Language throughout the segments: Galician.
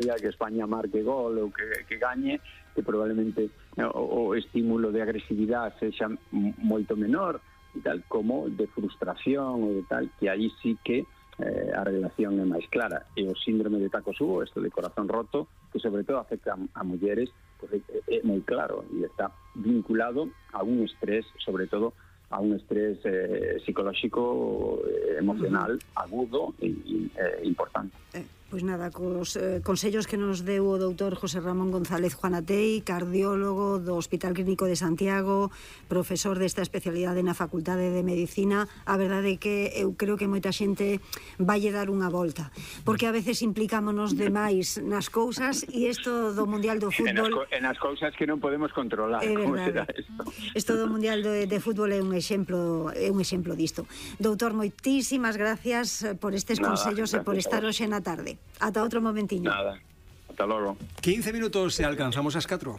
que España marque gol ou que gañe, que probablemente o estímulo de agresividade sexa moito menor e tal, como de frustración ou de tal, que aí sí que a relación é máis clara. E o síndrome de Takotsubo, isto de corazón roto, que sobre todo afecta a mulleres, pues é moi claro e está vinculado a un estrés, sobre todo a un estrés psicolóxico, emocional, agudo e importante. Pois nada, cos consellos que nos deu o doutor José Ramón González Juanatei, cardiólogo do Hospital Clínico de Santiago, profesor desta especialidade na Facultade de Medicina, a verdade é que eu creo que moita xente valle dar unha volta, porque a veces implicámonos demais nas cousas e isto do Mundial do Fútbol... En as cousas que non podemos controlar, como será isto? Isto do Mundial de Fútbol é un exemplo disto. Doutor, moitísimas gracias por estes consellos e por estar hoxe na tarde. Ata outro momentiño. Nada, ata logo. 15 minutos e alcanzamos as 4.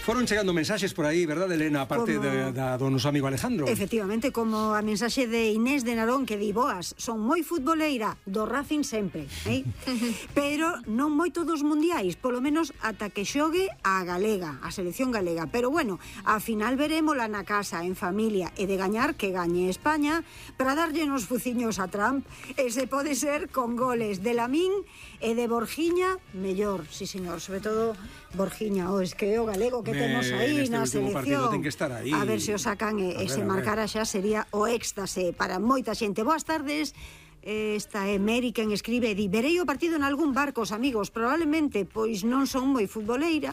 Foron chegando mensaxes por aí, verdade, Elena, aparte do noso amigo Alejandro? Efectivamente, como a mensaxe de Inés de Narón, que di: boas, son moi futboleira, do Racing sempre, pero non moito dos mundiais, polo menos ata que xogue a galega, a selección galega. Pero bueno, a final verémola na casa, en familia, e de gañar, que gañe España, para darlle nos fuciños a Trump, e se pode ser con goles de Lamín e de Borgiña, mellor, sí señor, sobre todo Borgiña, es que o galego que temos aí na selección, a ver se o sacan e se marcara xa sería o éxtase para moita xente. Boas tardes. Esta é Mary quen escribe, di: verei o partido en algún barco, os amigos, probablemente, pois non son moi futboleira.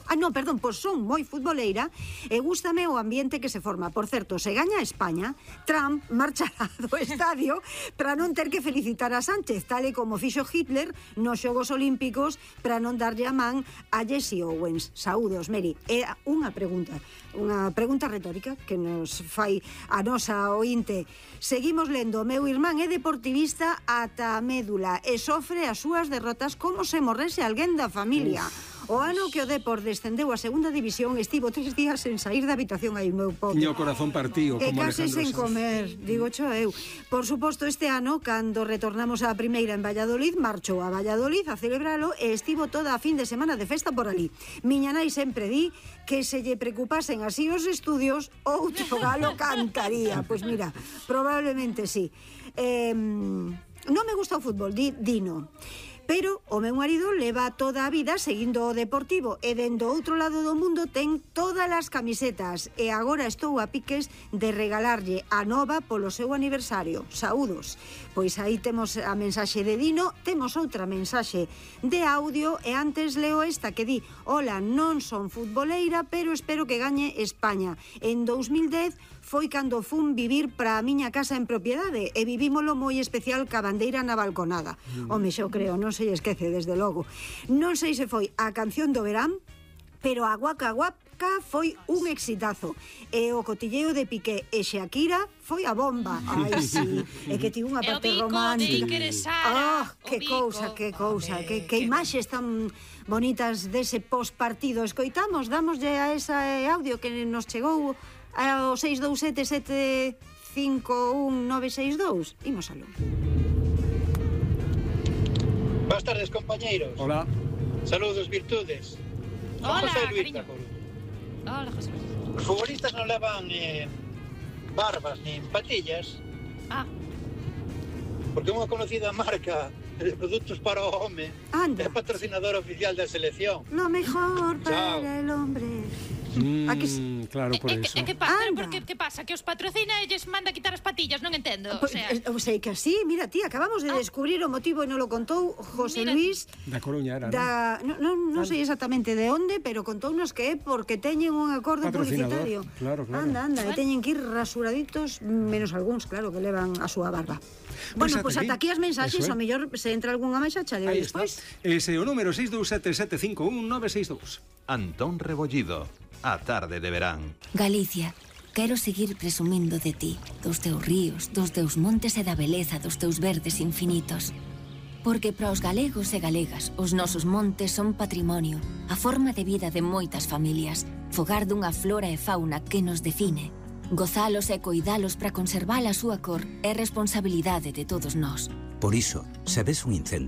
Pois son moi futboleira e gústame o ambiente que se forma. Por certo, se gaña España, Trump marchará do estadio para non ter que felicitar a Sánchez, tal e como fixo Hitler nos Xogos Olímpicos para non darlle a man a Jesse Owens. Saúdos, Mary. É unha pregunta retórica que nos fai a nosa ointe. Seguimos lendo. Meu irmán é deportivista ata a médula e sofre as súas derrotas como se morrese alguén da familia. O ano que o Depor descendeu a segunda división estivo 3 días sen sair da habitación aí meu pobre. Tiño o corazón partido, como Alejandro. E case sen Sanz. comer, digo cho eu. Por suposto, este ano, cando retornamos á primeira en Valladolid, marchou a Valladolid a celebralo e estivo toda a fin de semana de festa por ali. Miña nai sempre di que se lle preocupasen así os estudios, outro galo cantaría. Pois mira, probablemente sí. Non me gusta o fútbol, Dino. Pero o meu marido leva toda a vida seguindo o Deportivo e dendo outro lado do mundo ten todas as camisetas e agora estou a piques de regalarlle a nova polo seu aniversario. Saúdos. Pois aí temos a mensaxe de Dino, temos outra mensaxe de audio e antes leo esta que di: hola, non son futboleira, pero espero que gañe España. En 2010 foi cando fun vivir para a miña casa en propiedade e vivímolo moi especial ca bandeira na balconada. Home, xo creo, non se esquece, desde logo. Non sei se foi a canción do verán, pero a Waka Waka foi un exitazo. E o cotilleo de Piqué e Shakira foi a bomba. Ai, sí, é que tivo unha parte romántica. Que cousa, que imaxes tan bonitas dese postpartido. Escoitamos, damoslle a ese audio que nos chegou ao 627751962. Imos aló. Boas tardes, compañeiros. Hola. Saludos, virtudes. Hola, José Luis, cariño. Hola, José Luis. Os futbolistas non levan barbas nin patillas. Porque unha conocida marca de produtos para o home é patrocinador oficial da selección. Lo mejor para el hombre. Claro, por eso. Que pasa? Que os patrocina e lles manda quitar as patillas? Non entendo. O sei que así, mira, tía, acabamos de descubrir o motivo e non lo contou José Luis. Da Coruña era, non sei exactamente de onde, pero contounos que é porque teñen un acordo publicitario. Claro. Anda, e teñen que ir rasuraditos, menos algúns, claro, que levan a súa barba. Bueno, pois ata aquí as mensaxes, ao mellor se entra algunha máis xa de hoy despois. Ese é o número 627751962. Antón Rebollido. A tarde de verán. Galicia, quero seguir presumindo de ti, dos teus ríos, dos teus montes e da beleza dos teus verdes infinitos. Porque para os galegos e galegas, os nosos montes son patrimonio, a forma de vida de moitas familias, fogar dunha flora e fauna que nos define. Gozalos e coidalos para conservar a súa cor é responsabilidade de todos nós. Por iso, se ves un incendio